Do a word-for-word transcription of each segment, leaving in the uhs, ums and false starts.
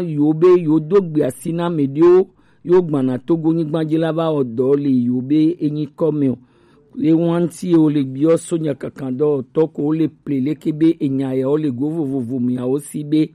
yo be yo do gbe asi na mɛ ɖewo yo gbana Togo nyigba ji la va wɔ dɔ le yo be enyi kɔ mɛ o. Ye wanti o le biɔ so nyakakan dɔ tɔ ko le ple leke be enya ya o le go vovovo mia o si be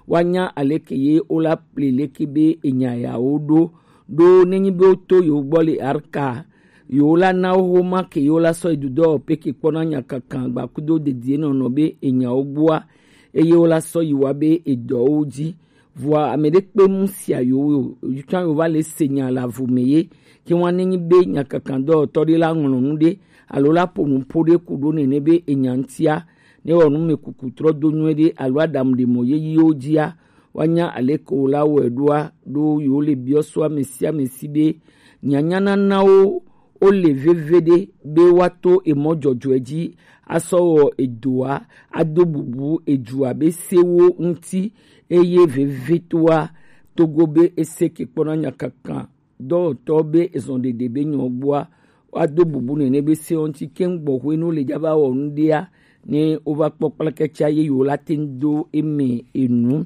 wa nya aleke ye o la ple leke be enya ya o ɖo ɖo nenyi be o to yo gbɔ le arka yo la na wo homa ke yo la sɔ yi dudɔ peke kpɔna nyakakan gbakudo dedie nɔnɔ be enya wo gbua eye wo la sɔ yi wa be edɔ wo ji. Vɔa ame ɖe kpe mu sia yo yo tsã yo va le se nya le avu me ye ke wa nenyi be nyakakan dɔwɔtɔ ɖe la ŋlɔ nu ɖe alo la ƒo nu ƒo ɖe ku ɖo nene be enya ŋutia ne wɔ nu me kuku trɔ do nyuie ɖe alo aɖamu ɖe mɔ yeyiwo dzia wa nya aleke wo la wɔe ɖoa ɖo yo le biɔ so ame sia ame si be nyanya nana wo o le veve ɖe be wa to emɔ dzɔdzɔe ji asɔ wɔ edoa ado bubu edua be sewo ŋuti eye vevetoa Togo be ese ke kpɔna nyakakan dɔwɔtɔ be ezɔn ɖeɖe be nyɔ gbɔa wa do bubu nene be sewo ŋuti keŋ gbɔ hwenu le dza va wɔ nu ɖea ne wo va kpɔ kplakɛtsa ye yo la te ŋu do eme enu.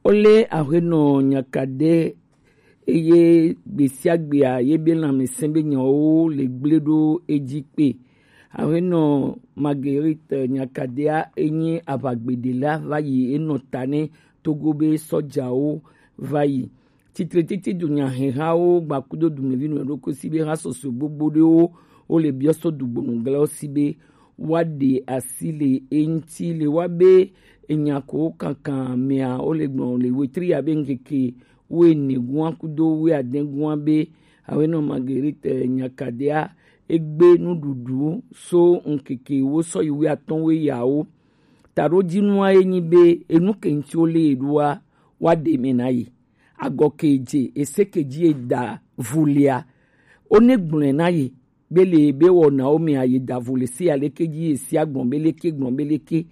Wo lé aƒenɔ nyakaɖe eye gbesiagbea ye be lãmesẽ be nyawo le gblẽ ɖo edzi kpe. Aƒenɔ Marguerite nyakaɖea enyi aʋagbeɖela va yi enɔ ta ne Togo be sɔjawo va yi. Tsitretsitsi dunyahehawo gbakudo dumevi nɔ ɖokui si be ha sɔsɔe gbogbo ɖewo wo le biɔ so dugbonu gblẽ wo si be woaɖe asi le eŋuti le wa be enya ko kankan mea wo le gblɔ le wetri ya be ŋkeke wuiene gua kudo wuiade gua be awenɔ Marguerite nyakaɖea egbe nuɖuɖu so ŋkeke wo sɔ yi wuiatɔ̃ wuiyawo. Taɖodzinua ye nyi be enu ke ŋuti wo lé ye ɖoa woaɖe me na ye. Agɔ ke dze ese ke dzi ye da vulia wo ne gblɔe na ye be le be wɔnawo mea ye da vu le se aleke dzi ye sia gblɔ be leke gblɔ be leke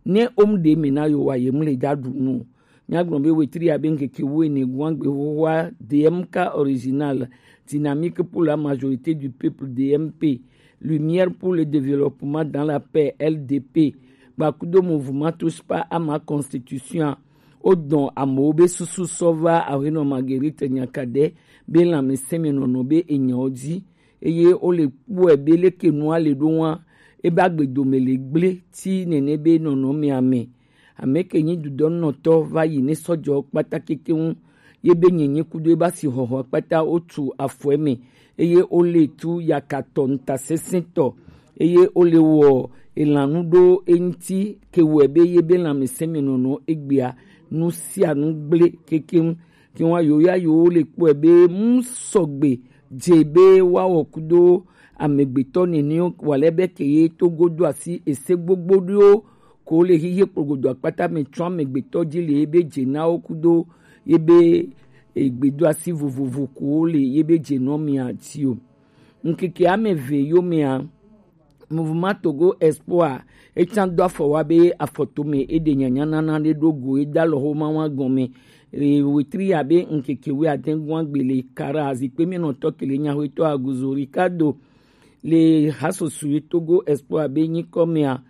ne wo mu ɖe me na yo wa ye mu le da ɖu nu o. Míagblɔ be wetri ya be ŋkeke wuiene guagbe xoxoa D M K original, dynamique pour la majorité du peuple, D M P, lumière pour le développement dans la paix, L D P, gbakudo mouvement touche pas à ma constitution. Wodɔn amewo be susu sɔ va aƒenɔ Marguerite nyakaɖe be lãmesẽmenɔnɔ be enyawo dzi eye wo le kpɔe be leke nua le ɖo wa ebe agbedome le gblẽ ti nene be nɔnɔmea me. Ame ke nyi dudɔnɔtɔ va yi ne sɔjɔ kpata keke ŋu ye be nyenye kudo ebe asi xɔxɔ kpata wotu afɔe me eye wo le tu yakatɔ ntasesẽtɔ eye wo le wɔ elanu ɖo eŋuti ke wɔe be ye be lãmesẽmenɔnɔ egbea nu sia nu gblẽ kekeŋ. Tiwa yo ya yo le kpɔe be mu sɔgbe dze be woawɔ kudo amegbetɔ nene wale be ke ye Togo do asi ese gbogbo ɖo ko le hihe kplogodo akpata me tsɔ amegbetɔ dzi le ye be dze na wo kudo ye be egbedo asi vovovo ko le ye be dze nɔ mia ti o. Ŋkeke ame eve yomea, Mouvement Togo Espoir etsã do afɔ wa be afɔtome eɖe nyanyanana ɖe ɖo go eda lɔxoma wa gɔme. Eye wetri abe ŋkeke wuiade gua gbe le kara zikpe mienɔtɔ kele nyaxoetɔ Aguzo Ricardo le hasoso ye Togo Espoir be nyikɔ mea,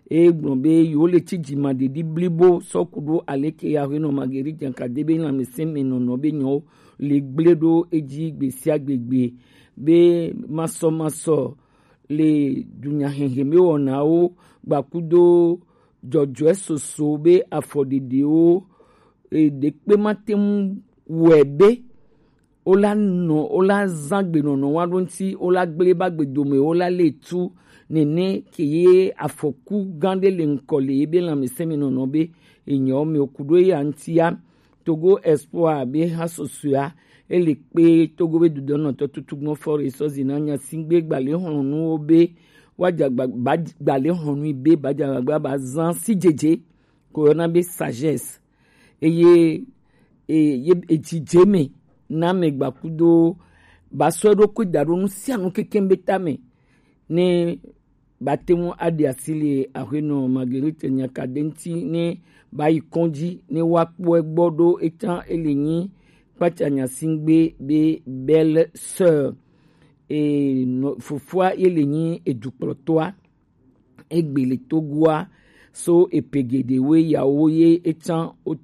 e gblɔ be yewo le tsi dzimaɖeɖi blibo sɔ ku ɖo aleke ya aƒenɔ Marguerite Nyankade be lãmesẽ me nɔnɔ be nyawo le gblẽ ɖo edzi gbe sia gbe gbe be masɔmasɔ le dunyahehe me wɔnawo gbakudo dzɔdzɔe soso be afɔɖeɖewo e, ɖekpe mate ŋu wɔe be wola nɔ wola zã gbenɔnɔ wa ɖo ŋuti wola gblẽ ba gbedomewo la le tu nene ke ye afɔku gã ɖe le ŋkɔ le ye be lãmesẽ me nɔnɔ be enyawo me ku ɖo eya ŋutia. Togo Espoir be ha susɔea ele kpe Togo be dudɔnɔtɔ tutugbɔ fɔ re sɔ zina nyasigbe gbalexlɔnuwo be woadza gba- ba- gbalexlɔnui be badzagbagba bazã si dzedze ko yɔna be sagesse eye e- ye- edzidze me na ame gbakudo basɔ eɖokui da ɖo nu sia nu kekeŋ be tame ne bate ŋu aɖe asi le aƒenɔ Marguerite Nyakade ŋuti ne ba yi kɔdzi ne woakpɔ egbɔ ɖo eta ele nyi kpatsa nyasingbe be belle sœur e nɔ- fofoa ye le nyi edukplɔtɔa egbe le Togoa so epe geɖewoe yawo ye eta